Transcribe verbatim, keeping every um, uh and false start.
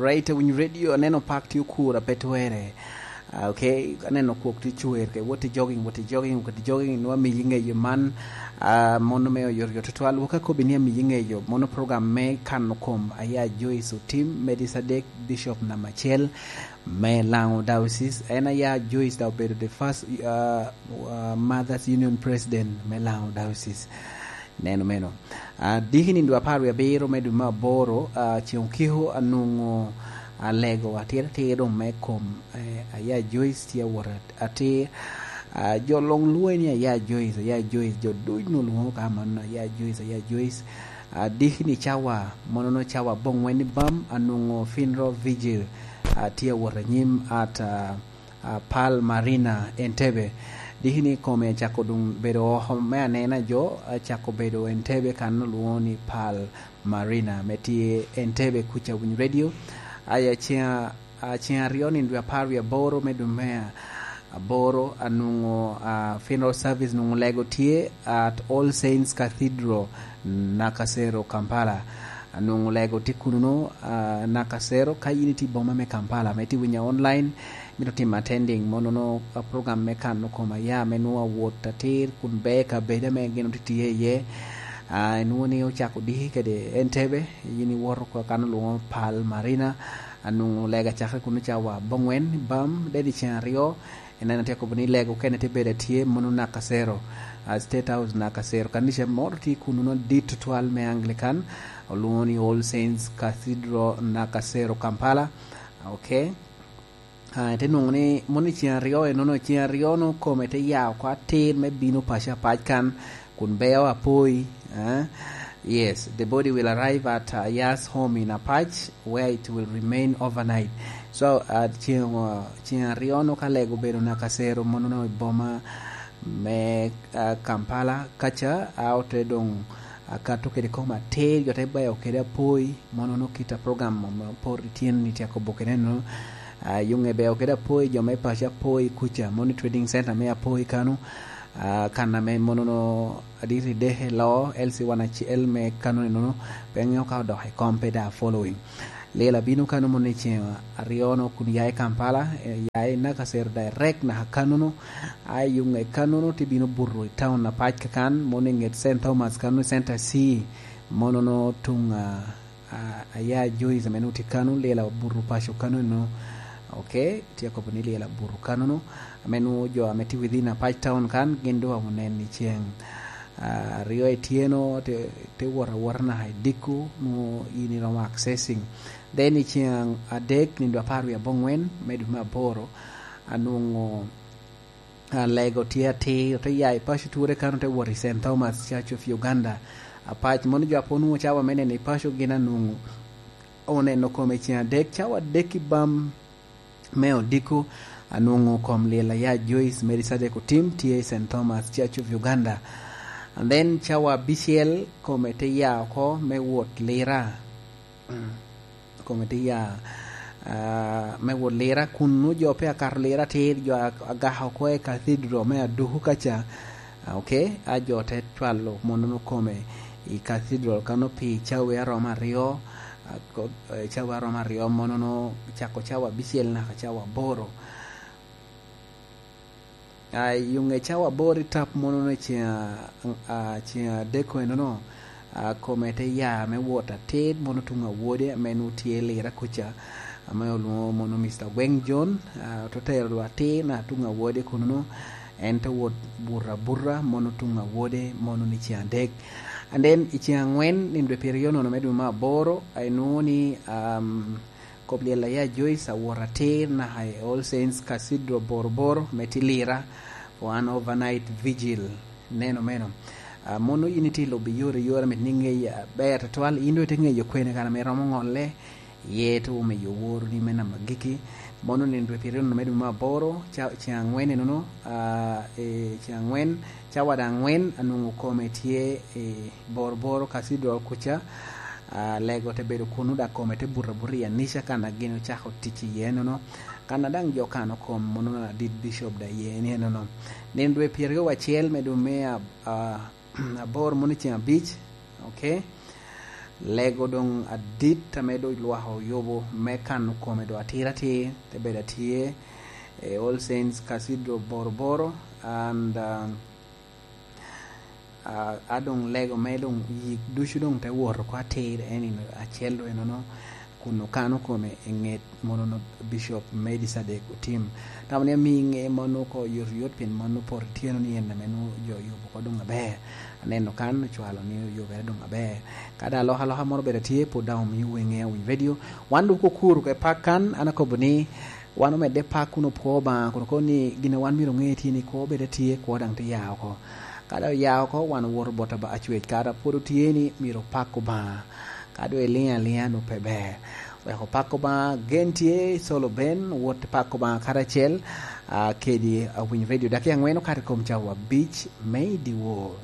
Right, Winyo Radio, aneno pak tye okura pe twere. Ah, okay, aneno kwok tye cwer, ke wot i jogging, wot i jogging, wot i jogging, nwa miyi ŋeyo man, ah, mono me oyotoyot tutwal, waka kobi ni amiyi ŋeyo, mono program me kano kom, aya Joyce Otim, Medi Sadek, Bishop namba acel me Lango Diocese. En aya Joyce da obedo the first, ah, ah, Mothers Union President me Lango Diocese. Neno meno. Ah, diki ni dwe apar wie abiro me dwe me aboro, ah, ceŋ okiko anwoŋo alego atir atir doŋ me kom, eh, aya Joyce tye awot at-, atir. Ah, jo luŋ lwoŋe ni aya Joyce, aya Joyce, jo duc nwoŋo lwoŋo ka man, aya Joyce, aya Joyce. Ah, diki ni cawa, mono no cawa boŋwen ni bam, anwoŋo Funeral Vigil, ah, tye awot anyim at, ah, ah, Pearl Marina, Entebbe. Diki ni kome acako doŋ bedo oko me anena jo, acako bedo Entebbe kan olwoŋo ni Pearl Marina, me tye Entebbe kuca Winyo Radio. Aya ceŋ a-, ceŋ aryo ni dwe apar wie aboro me dwe me aboro, anwoŋo, ah, funeral service nwoŋo lego tye at All Saints Cathedral, Nakasero, Kampala. Anwoŋo lego tye kuno, ah, Nakasero, ka in itye i boma me Kampala, me tye winyo online, mito timo attending, mono no, ah, program me kano kom aya, me nwoŋo awot atir, kun ber kabedo ame gin otye tye iye. Ah, inwoŋo ni ocako diki kede Entebbe, in iwoto ka kan olwoŋo Pearl Marina, anwoŋo lega cakere kuno cawa boŋwen, bam, deni ceŋ aryo, en en atye kobo ni lega okene tye bedo atye, mono Nakasero, ah, State House Nakasero, kanica moro tye kuno no dit tutwal me Anglican, olwoŋo ni All Saints Cathedral Nakasero, Kampala. Okay. Ah, ite nwoŋo ni mono i ceŋ aryo enono, ceŋ aryo no kome te ya oko atir me bino paco apac kan, kun beo apoi, eh? Yes, the body will arrive at, uh, Yas home in Apac, where it will remain overnight. So, uh, ceŋ, uh, ceŋ aryo no ka lego obedo Nakasero, mono no i boma me, uh, Kampala, kaca, a ote doŋ akato kede kom atir, jo te beo kede apoi, mono no kit a program mo, mo, por ityen ni tye akobo kede no. Ah, yuŋe beo kede apoi, jo me paco apoi kuca, mono i trading center me apoi kano, ah, kan ame mono no aditi deke lo, L C one acel me kano ni nono, pe ŋeo ka odok i kom pe da following. Lela bino kano mono i ceŋ aryo no kun ya i Kampala, eh, ya i Nakasero direct naka kano no, a i yuŋe kano no tye bino buto i town apac kakan, mono i ŋet Saint Thomas kano, Center C, mono no tuŋ, ah, ah, aya Joyce ame nwoŋo tye kano, lela buto paco kano no. Okay, tye akobo ni lela buto kano no, ame nwoŋo jo ame tye within apac town kan, gin doŋ oneno i ceŋ, ah, aryo ityeno, te, te wot awota naka i diko, nwoŋo in iromo accessing. Then i ceŋ adek, nino apar wie aboŋwen me dwe me aboro, anwoŋo, ah, lego tye atir, ote ya i paco Ture kan, ote wot i Saint Thomas Church of Uganda. Apac, mono jo a pe onwoŋo cawa me neno i paco gin anwoŋo oneno kome i ceŋ adek, cawa adek i bam me odiko, anwoŋo kom lila ya Joyce Mary Sadek Otim tye i Saint Thomas Church of Uganda. And then cawa abicel kome te ya oko me wot lira. Mm. Kome te ya, ah, me wot lira, kun nwoŋo jo pe akato lira atir, jo a-, agako oko i cathedral me Aduku kaca. Ah, okay, a jo te cwalo monono kome i cathedral kano pi cawa aromo aryo, ah, ko-, eh, cawa aromo aryo, monono cako cawa abicel naka cawa aboro. Ah, i yuŋe cawa aboro i tap mono i ceŋ a-, a-, ceŋ adek enono, ah, kome te ya me wot atir mono tuŋ awode ame nwoŋo tye lira kuca, ame olwoŋo mono Mister Gweng John, ah, te tero lwak atir na tuŋ awode kunono, en te wot buto abuta mono tuŋ awode mono ni ceŋ adek. And then i ceŋ angwen, nino dwe pyeraryo nono me dwe me aboro, ah, inwoŋo ni, um, Kop lyel aya Joyce awot atir naka i All Saints Cathedral Boroboro me tye lira for an overnight vigil. Neno meno. Ah, mono in itye i lobo iyore yore, mit ni ŋeyi aber tutwal. In doŋ ite ŋeyo kwene kan ame romo ŋolle. Iye te omiyo woroni me namba giki. Mono nino dwe pyeraryo me dwe me aboro, ca-, ceŋ angwen enono, ah, eh, ceŋ angwen, cawa daŋ angwen, anwoŋo kome tye i Boroboro Cathedral kuca. Ah, lego te bedo kuno, dok kome te buto abuta i anica kan a gin ocako tic iye nono. Kan a daŋ jo kano kom mono adit bicop da iye ni enono. Nino dwe pyeraryo wacel me dwe me ab-, ah, aboro mono ceŋ abic, okay? Lego doŋ adit ame doŋ lwak oyubo me kano kome doŋ atir atir, te bedo atye i All Saints Cathedral Boroboro, and, um, ah, a doŋ lego me doŋ yik ducu doŋ te wot oko atir, en ino acel doŋ enono, kun okano kome i ŋet monono Bishop Medi Sadek Otim. Tamo ni amiŋe mano oko yot yot, pien mano poto ityeno ni en ame nwoŋo jo oyubo oko doŋ aber. Aneno kan ocwalo ni oyubere doŋ aber. Ka daŋ alokaloka moro bene tye, pwod daŋ omio weŋe awiny radio. Wan doŋ okuro ka i pak kan, an akobo ni wan omedde pak kun opwo Obaŋa, kun okobo ni gin a wan myero oŋe tye ni kwo bed atye, kwo daŋ te ya oko. Ka daŋ oya oko, wan owoto bot aba-, acwec, kara pwod otye ni myero opak Obaŋa. Ka doŋ iliŋo aliŋa, nwoŋo pe ber. Wek opak Obaŋa, gen tye, Solo Ben, wot pak Obaŋa karacel, ah, kedi awiny radio. Dakika aŋwen okato i kom cawa abic me i dyewor.